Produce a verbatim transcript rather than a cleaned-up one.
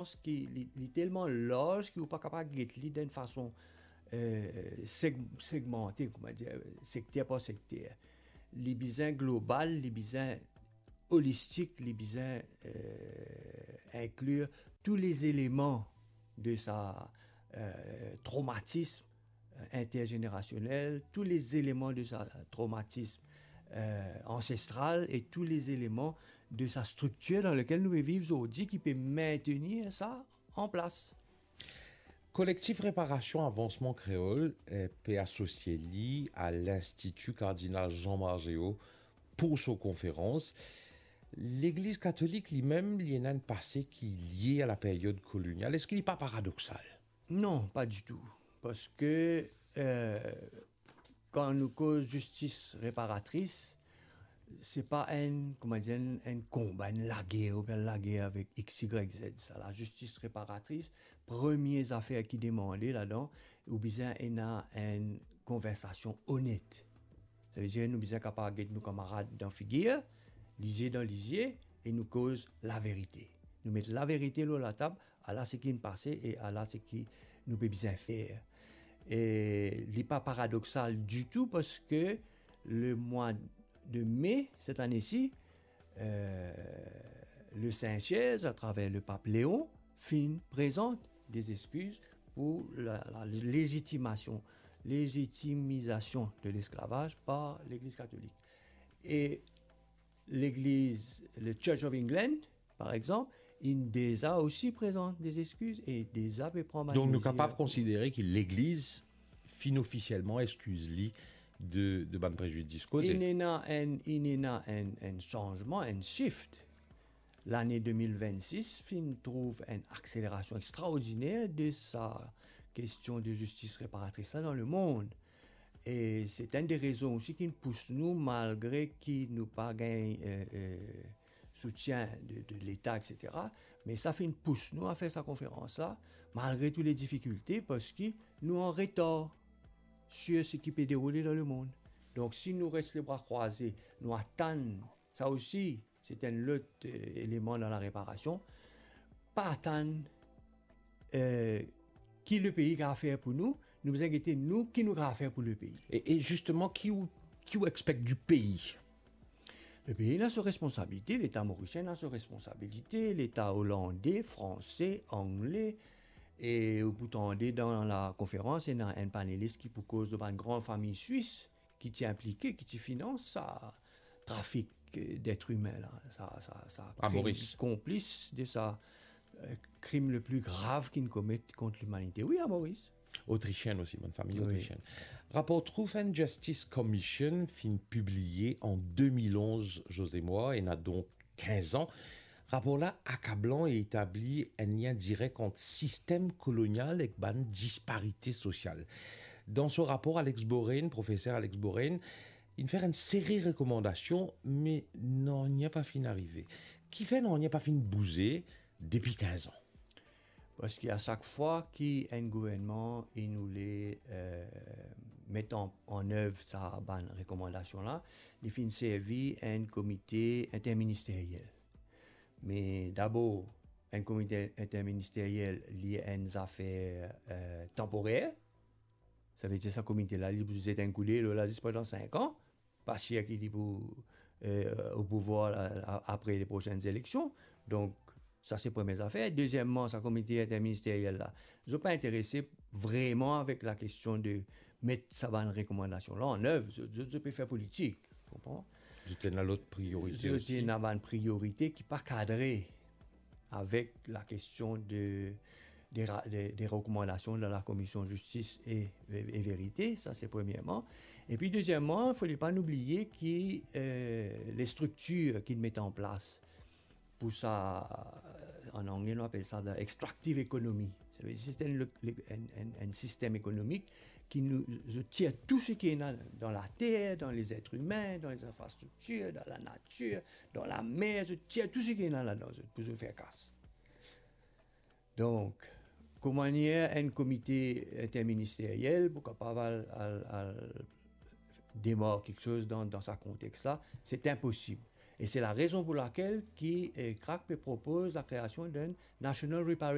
ki li, li telman larz ki ou pa kapav get li dan enn fason, eh, seg-, segmante, kouma dir, sekter par sekter. Li bizin global, li bizin olistik, li bizin, eh, inklir tou lezeleman de sa, eh, tromatism interzenerasionel, tou lezeleman de sa tromatism, eh, ansestral e tou lezeleman de sa striktir dan lekel nou pe viv zordi ki pe mentenir sa an plas. Kolektif Reparasion Avansman Kreol, eh, pe asosie li a Linstiti Kardinal Jean Margeo pou so konferans. Legliz Katolik limem, li ena enn pase ki lie a laperyod kolonial. Eski li pa paradoksal? Non, pa ditou. Parski, eh, kan nou koz zistis reparatris, se pa enn, kouma dir, enn, enn konba, enn lager, oubien lager avek X, Y, Z. Sa lazistis reparatris, premie zafer ki demande ladan, ou bizin ena enn konversasion onet. Savedir nou bizin kapav get nou kamarad dan figir, lizie dan lizie, e nou koz laverite. Nou met laverite lor latab, ala seki inn pase e ala seki nou pe bizin fer. E li pa paradoksal ditou parski lemwa de me set ane si, eh, le Saint-Siège, atraver lepap Leon, finn prezant de zeskiz pou la, la lezitimasion, lezitimizasion de lesklavaz par Legliz Katolik. E Legliz, le Church of England, par exanp, inn deza osi prezant de zeskiz e deza pe pran bann mezir. Donk nou kapav konsidere ki Legliz finn ofisielman eskiz li de, de bann prezidis koze. Inn ena enn, inn ena enn, enn sanzman, enn shift. Lane de mil vennsis finn trouv enn akselerasion extraordiner de sa kestion de zistis reparatris la dan lemond. E se enn de rezon osi ki pous nou, malgre ki nou pa gagn, eh, eh, soutien de, de Leta, et cetera, me sa finn pous nou a fer sa konferans la, malgre tou le difikilte, parski nou an retar sir seki pe deroule dan lemond. Donk, si nou res lebra krwaze, nou atann, sa osi, se enn lot, eh, eleman dan lareparasion, pa atann, eh, ki lepei kapav fer pou nou, nou bizin gete nou, ki nou kapav fer pou lepei. E, e zisteman, ki ou, ki ou expect di pei? Lepei ena so responsabilite, Leta morisien ena so responsabilite, Leta olande, franse, angle, e ou pou tande dan lakonferans, ena enn panelis ki pou koz lor bann gran fami swis ki ti inplike, ki ti finans sa trafik, eh, d'être imin la, sa, sa, sa A krim Moris. Konplis de sa, eh, krim le pli grav ki'nn komet kont limanite. Wi, a Moris. Otrisienn osi, bann fami Wi. Otrisienn. Rapor Truth and Justice Commission finn pibliye an de mil onz, José Moa, ena donk kinz an. Rapor la akablan e etabli enn lien direk ant sistem kolonial ek bann disparite sosial. Dan so rapor, Alex Boren, profeser Alex Boren, inn fer enn seri rekomandasion, me nanye pa finn arive. Kifer nanye pa finn bouze depi kinz an? Parski a sak fwa ki enn gouvernman inn oule, eh, met an, an ev sa bann rekomandasion la, li finn servi enn komite interministeriel. Me dabor, enn komite interministeriel, li enn zafer, eh, tanporer. Savedir sa komite la, li pou zet enn koudey lor la zis pandan sink an. Pa sir ki li pou, eh, o pouvwar la, a-, apre le prosenn eleksion. Donk, sa se premie zafer. Dezieman, sa komite interministeriel la, zot pa interese vreman avek lakestion de met sa bann rekomandasion la an ev. Zot, zot, zot pe fer politik, konpran? Zot ena lot priyorite Zot osi. Ena bann priyorite ki pa kadre avek lakestion de, de ra-, de, de rekomandasion de la Komision Zistis e, e, e Verite, sa se premierman. Epi dezieman, fode pa nou bliye ki, eh, lestriktir ki met an plas pou sa, eh, an angle nou apel sa the extractive economy. Savedir se enn, le, le, enn, enn, enn sistem ekonomik ki nou, zot tir tou seki ena dan later, dan les êtres humains, dan les infrastructures, dan la nature, dan lamer, zot tir tou seki ena ladan zot pou zot fer kas. Donk, kouma enn komite interministeriel pou kapav al, al, al demar kiksoz dan, dan sa kontex la, se inposib. E se larezon pou lakel ki, eh, CRAC pe propoz lakreasion d'un National Reparation